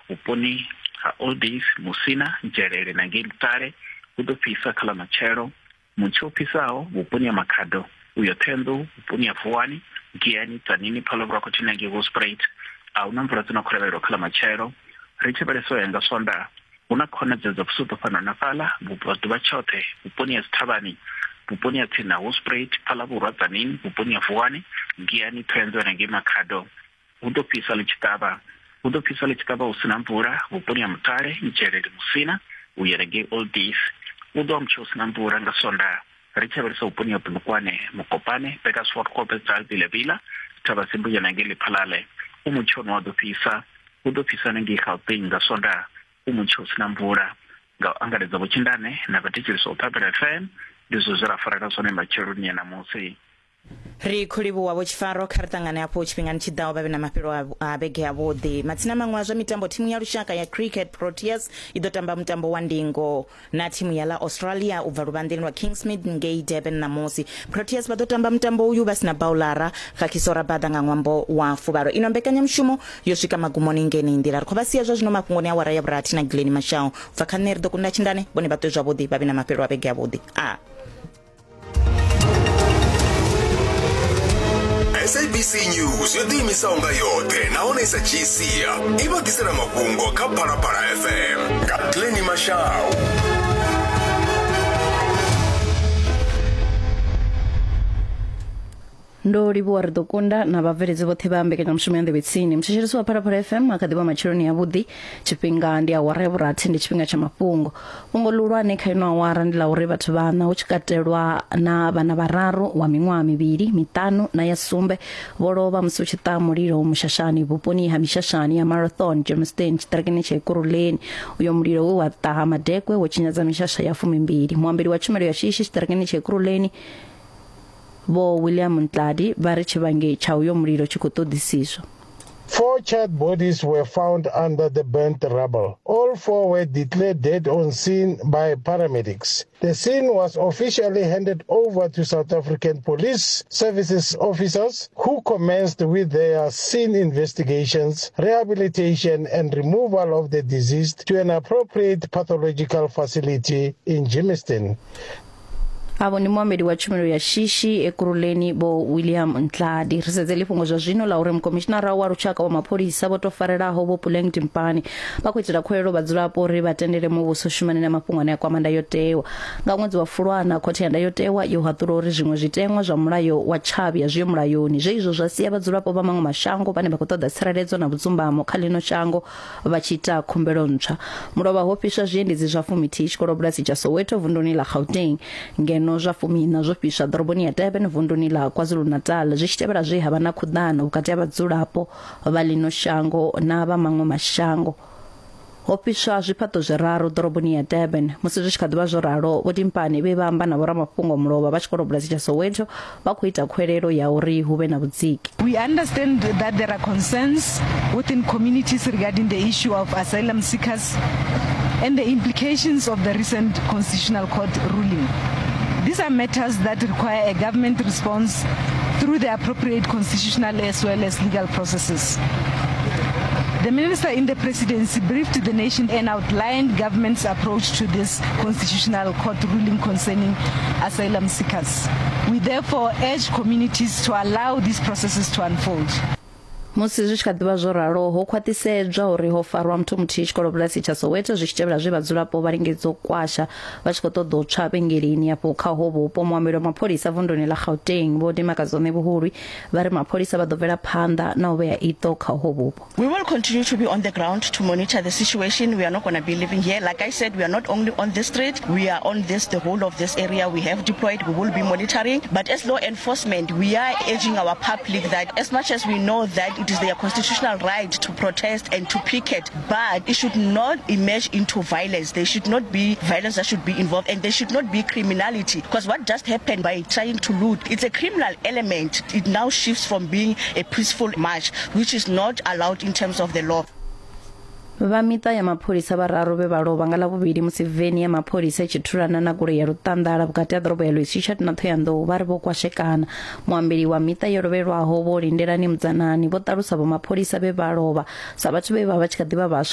vhuponi ha Old Days, Musina, Nzhelele na ngei Mutale hu ḓo fhisa kha ḽa matshelo. Mutsho u fhisaho vhuponi ha Makhado u ya Ṱhohoyanḓou, vhuponi ha Vuwani, Giyani, Tzaneen, Phalaborwa khathihi na ngei Hoedspruit a hu na mvula dzi no khou lavhelelwa kha ḽa matshelo. Ri tshi lavhelesa u ya nga Swondaha, hu na khonadzeo dza vhusuṱo fhano na fhaḽa vhubvaḓuvha tshoṱhe vhuponi ha dzithavhani, vhuponi ha tsini na Hoedspruit, Phalaborwa, Tzaneen, vhuponi ha Vuwani, Giyani, Ṱhohoyanḓou na ngei Makhado. Hu ḓo fhisa ḽi tshi ṱavha. Hu ḓo fhisa ḽi tshi ṱavha hu si na mvula vhuponi ha Mutale, Nzhelele, Musina u ya ngei Old Days. Hu ḓo vha mutsho u si na mvula nga Swondaha. Ri tshi lavhelesa vhuponi ha Polokwane, Mokopane, Burgersfort, Khobbesdal, Vila-Vila, Thabazimbi u ya na ngei Lephalale. U mutsho une wa ḓo fhisa. Hu ḓo fhisa na ngei Gauteng nga Swondaha. U mutsho u si na mvula. Nga u angaredza Vho Tshindane na vhathetshelesi vha Phalaphala FM, ndi zwe zwe ra farela zwone matsheloni a ṋamusi. Ri khou livhuwa Vho Tshifaro, kha ri ṱangane hafhu tshifhingani tshi ḓaho vha vhe na mafhelo a vhege avhuḓi. Matsina maṅwe a zwa mitambo, thimu ya lushaka ya cricket Proteas i ḓo tamba mutambo wa ndingo na thimu ya ḽa Australia u bva luvhanḓeni lwa Kingsmead ngei Durban ṋamusi. Proteas vha ḓo tamba mutambo uyu vha si na baulara Kagiso Rabada nga ṅwambo wa fuvhalo. Ino mbekanyamushumo yo swika magumoni ngenei nḓila. Ri khou vha sia zwa zwino mafhungoni a awara ya vhurathi na Glennie Mashao. U bva kha nṋe ri ḓo kunda Tshindane, vhone vha ṱwe zwavhuḓi vha vhe na mafhelo a vhege avhuḓi. A. SABC News yo ḓiimisaho nga yoṱhe nahone i sa dzhii sia i vha ḓisela mafhungo kha Phalaphala FM nga Glennie Mashau. Ndo livhuwa ri ḓo kunda na vhabveledzi vhoṱhe vha mbekanyamushumo ya nḓevhe tsini. Muthetshelesi wa Phalaphala FM a kha ḓi vha matsheloni avhuḓi. Tshifhinga ndi awara ya vhurathi, ndi tshifhinga tsha mafhungo. Fhungo ḽihulwane kha ino awara ndi ḽa uri vhathu vhaṋa hu tshi katelwa na vhana vhararu wa miṅwaha mivhili, miṱanu na ya sumbe vho lovha musi hu tshi ṱaha mulilo mushashani vhuponi ha mishashani ya Marathon, Germiston, tshiṱirikini tsha Ekurhuleni. Uyo mulilo we wa ṱaha madekwe wo tshinyadza mishasha ya fumimbili. Muambeli wa tshumelo ya shishi tshiṱirikini tsha Ekurhuleni Vho William Ntladi vha ri tshivhangi tsha uyo mulilo tshi khou ṱoḓisiswa. Four charred bodies were found under the burnt rubble. All four were declared dead on scene by paramedics. The scene was officially handed over to South African Police Services officers who commenced with their scene investigations, rehabilitation and removal of the deceased to an appropriate pathological facility in Germiston. Avho ndi muambeli wa tshumelo ya shishi Ekurhuleni Vho William Ntladi. Ri sedze ḽifhungo zwa zwino ḽa uri mukomishinara wa lushaka wa mapholisa vho tou farelaho Vho Puleng Dimpane vha khou itela khuwelelo vhadzulapo uri vha tendele muvhuso u shumane na mafhungo ane a kwama ndayotewa. Nga ṅwedzi wa Fulwana, khothe ya ndayotewa yo haṱula uri zwiṅwe zwiteṅwa zwa mulayo wa tshavhi a zwiho mulayoni, zwe izwo zwa sia vhadzulapo vha maṅwe mashango vhane vha khou ṱoḓa tsireledzo na vhudzumbamo kha ḽino shango vha tshi ita khumbelo ntswa. Mulovha ho fhiswa zwiendedzi zwa fumithihi tshikolobulasi tsha Soweto vunduni ḽa Gauteng, ngeno zwa fumiiṋa zwo fhiswa ḓoroboni ya Durban vunduni ḽa KwaZulu-Natal zwi tshi tevhela zwe ha vha na khuḓano vhukati ha vhadzulapo vha ḽino shango na vha maṅwe mashango. Ho fhiswa zwifhaṱo zwiraru ḓoroboni ya Durban. Musi zwi tshi kha ḓi vha zwo ralo, Vho Dimpane vhe vha amba na vhoramafhungo mulovha vha tshikolobulasi tsha Soweto vha khou ita khuwelelo ya uri hu vhe na vhudziki. We understand that there are concerns within communities regarding the issue of asylum seekers and the implications of the recent Constitutional Court ruling. These are matters that require a government response through the appropriate constitutional as well as legal processes. The minister in the presidency briefed the nation and outlined government's approach to this constitutional court ruling concerning asylum seekers. We therefore urge communities to allow these processes to unfold. Musi zwi tshi kha ḓi vha zwo ralo, ho khwaṱhisedzwa uri ho farwa muthu muthihi tshikolobulasi tsha Soweto zwi tshi tevhela zwe vhadzulapo vha lingedza u kwasha vha tshi khou ṱoḓa u tswa vhengeleni afho kha ho vhupo. Muambeli wa mapholisa vunduni ḽa Gauteng Vho Dimakazone Vhuhulwi vha ri mapholisa vha ḓo bvela phanḓa na u vhea iṱo kha ho vhupo. We will continue to be on the ground to monitor the situation. We are not going to be living here. Like I said, we are not only on this street, we are on this, the whole of this area. We have deployed, we will be monitoring. But as law enforcement, we are urging our public that as much as we know that it is their constitutional right to protest and to picket, but it should not emerge into violence. There should not be violence that should be involved, and there should not be criminality. Because what just happened by trying to loot, it's a criminal element. It now shifts from being a peaceful march, which is not allowed in terms of the law. Vha miṱa ya mapholisa vhararu vhe vha lovha nga Ḽavhuvhili musi veni ya mapholisa i tshi thulana na goloi ya luṱanḓala vhukati ha ḓorobo ya Louis Trichardt na Ṱhohoyanḓou vha ri vho kwashekana. Muambeli wa miṱa yo lovhelwaho Vho Lindelani Mudzanani vho ṱalusa vho mapholisa vhe vha lovha sa vhathu vhe vha vha tshi kha ḓi vha vhaswa.